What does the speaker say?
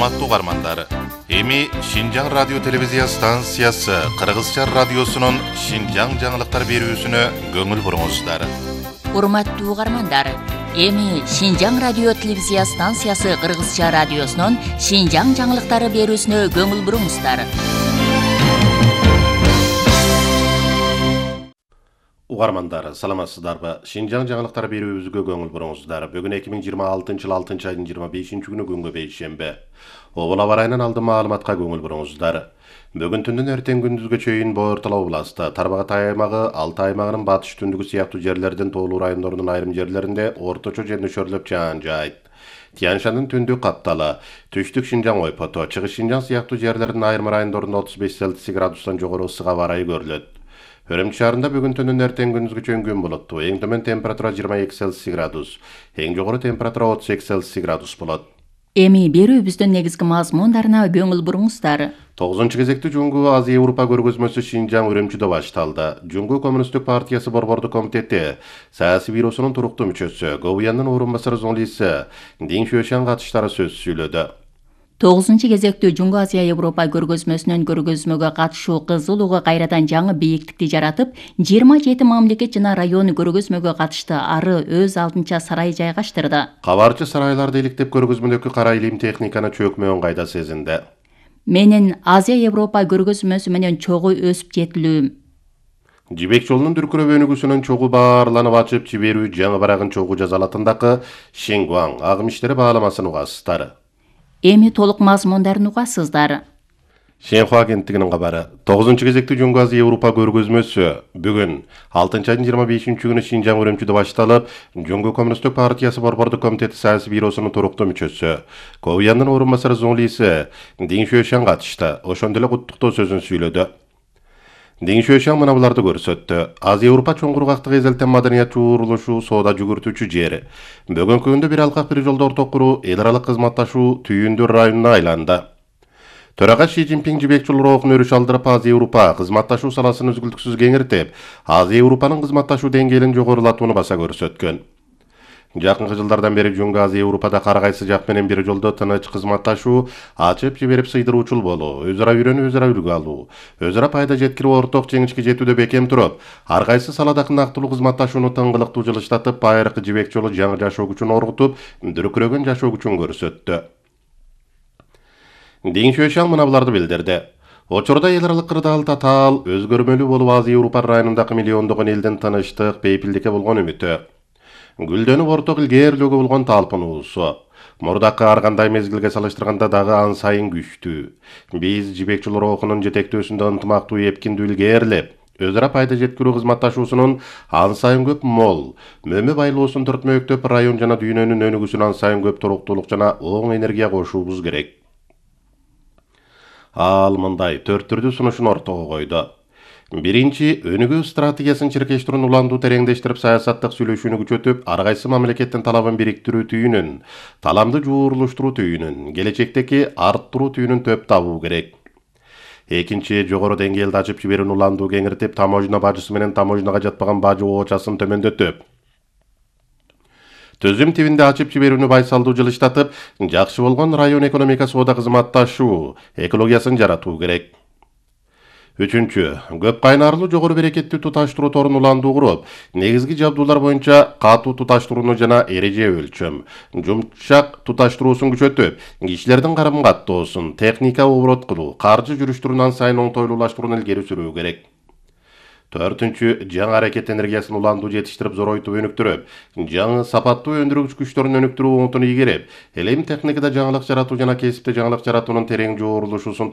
Урматтуу угармандар, эми Шинжаң радио телевизия станциясы Кыргызча радиосунун Шинжаң жаңылыктар берүүсүнө көңүл буруңуздар. Урматтуу угармандар, эми Шинжаң радио телевизия станциясы Кыргызча радиосунун Шинжаң жаңылыктары берүүсүнө көңүл буруңуздар. Угармандар, саламатсыздарбы? Шинжаң жаңылыктар берүүбүзгө көңүл буруңуздар. Бүгүн 2026-жыл 6-айдын 25-күнү күнгө бейшемби. Обул аба ырайынан алдын маалыматка көңүл буруңуздар. Бүгүн түндүн эртең күндүзгө чейин Боортал областы, Тарбагай аймагы, Алтай аймагынын батыш түндүгү сыяктуу жерлердин тоолуу райондорунун айрым жерлеринде орточо же нөшөрлөп жаан жаайт. Тянь-Шаньдын түндүк капталы, түштүк Шинжаң ойпото, чыгыш Шинжаң сыяктуу жерлердин айрым райондорунда 35 градустан жогору ысык аба ырайы көрүлөт. Өрөмчү шаарында бүгүн түндүн эртең күндүзгө чейин күн булуттуу. Эң төмөн температура 22 градус, эң жогору температура 38 градус болот. Эми берүүбүздүн негизги мазмундарына көңүл буруңуздар. 9 кезектүү Жуңгу Азия Европа көргөзмөсү Шинжаң Өрөмчүдө башталды. Жуңгу Коммунисттик партиясы борбордук комитети саясий бюросунун туруктуу мүчөсү, Говуяндын орун басары журналисти Дин Шуэшан катыштары сөз сүйлөдү. 9 кезектүү Жуңгу Азия Европа көргөзмөсүнүн көргөзмөгө катышуу кызылууга кайрадан жаңы бийиктикти жаратып, 27 мамлекет жана район көргөзмөгө катышты. Ары өз алдынча сарай жайгаштырды. Кабарчы сарайларды иликтеп көргөзмөдөгү кара илим техниканы чөкмөгөн кайда сезинди. Менин Азия Европа көргөзмөсү менен чогуу өсүп жетилүүм. Жибек жолунун дүркүрөп өнүгүүсүнүн чогуу баарланып ачып жиберүү жаңы барагын чогуу жазалатындагы Шенгуаң агым иштери бааламасын угасыздар. Эми толук мазмундарын угасыздар. Шенхуа агенттигинин кабары. 9 кезектүү Жуңгу Азия Европа көргөзмөсү бүгүн 6-айдын 25-күнү Шинжаң Өрөмчүдө башталып, Жуңгу Коммунисттик партиясы борбордук комитети саясий бюросунун туруктуу мүчөсү, Говуяндын орун басары журналисти Дин Шуэшан катышты. Ошондой эле куттуктоо сөзүн сүйлөдү. Дин Шуэшан мына буларды көрсөттү. Азия Европа чоң кургактык эзелтен маданият чуурулушу, соода жүгүртүүчү жер. Бүгүнкү күндө бир алкак бир жолдо орток куруу, эл аралык кызматташуу түйүндүү районуна айланды. Төрага Ши Цзиньпин жибек жол рухун өрүш алдырып, Азия Европа кызматташуу саласын үзгүлтүксүз кеңиртип, Азия Европанын кызматташуу деңгээлин жогорулатууну баса көрсөткөн. Жакынкы жылдардан бери Жуңгу Азия Европада кар кайсы жак менен бир жолдо тыныч кызматташуу, ачып жиберип сыйдыруучул болуу, өз ара үйрөнүү, өз ара үлгү алуу, өз ара пайда жеткирип орток жеңишке жетүүдө бекем туруп, ар кайсы салада ынактылуу кызматташууну тыңгылыктуу жылыштатып, байыркы жибек жолу жаңы жашоо күчүн оргутуп, дүркүрөгөн жашоо күчүн көрсөттү. Дин Шуэшан мына буларды билдирди. Учурда эл аралык кырдаал татаал, өзгөрмөлүү болуп Азия Европа районундагы миллиондогон элдин тынычтык, бейпилдикке болгон үмүтү, гүлдөнүп орток илгээрлөөгө болгон талпынуусу мурдакы ар кандай мезгилге салыштырганда дагы ан сайын күчтүү. Биз жибек жол рухунун жетектөөсүндө ынтымактуу, эпкиндүү илгээрлеп, өз ара пайда жеткирүү кызматташуусунун ан сайын көп мол, мөмө байлоосун төртмөктөп, район жана дүйнөнүн өнүгүүсүнө ан сайын көп туруктуулук жана оң энергия кошуубуз керек. Ал мындай 4 түрдүү сунушун ортого койду. Биринчи, өнүгүү стратегиясын чиркештирүүнү уландуу тереңдештирип, саясаттык сүйлөшүүнү күчөтүп, ар кайсы мамлекеттин талабын бириктирүү түйүнүн, таламды жуурурлуштуруу түйүнүн, келечектеги арттыруу түйүнүн төп табуу керек. Экинчи, жогору деңгээлде ачып жиберүүнү уландуу кеңиртип, таможня бажысы менен таможняга жатпаган бажы оочасын төмөндөтүп, түзүм тибинде ачып жиберүүнү байсалдуу жылыштатып, жакшы болгон район экономика соода кызматташуу экологиясын жаратуу керек. Үчүнчү, көп кайнарлуу жогору берекеттүү туташтыруу торун уландуу куруп, негизги жабдуулар боюнча катуу туташтырууну жана эреже өлчөм, жумшак туташтыруусун күчөтүп, кишилердин карым каттоосун, техника оборот кылуу, каржы жүрүштүрүүнү ан сайын оңтойлуулаштырууну илгери сүрүү керек. Төртүнчү, жаңы аракет энергиясын уландуу жетиштирип, зоройтуп өнүктүрүп, жаңы сапаттуу өндүргүч күчтөрүн өнүктүрүү оңтун ийгерип, элем техникада жаңылык жаратуу жана кесипте жаңылык жаратуунун терең жоорулушуусун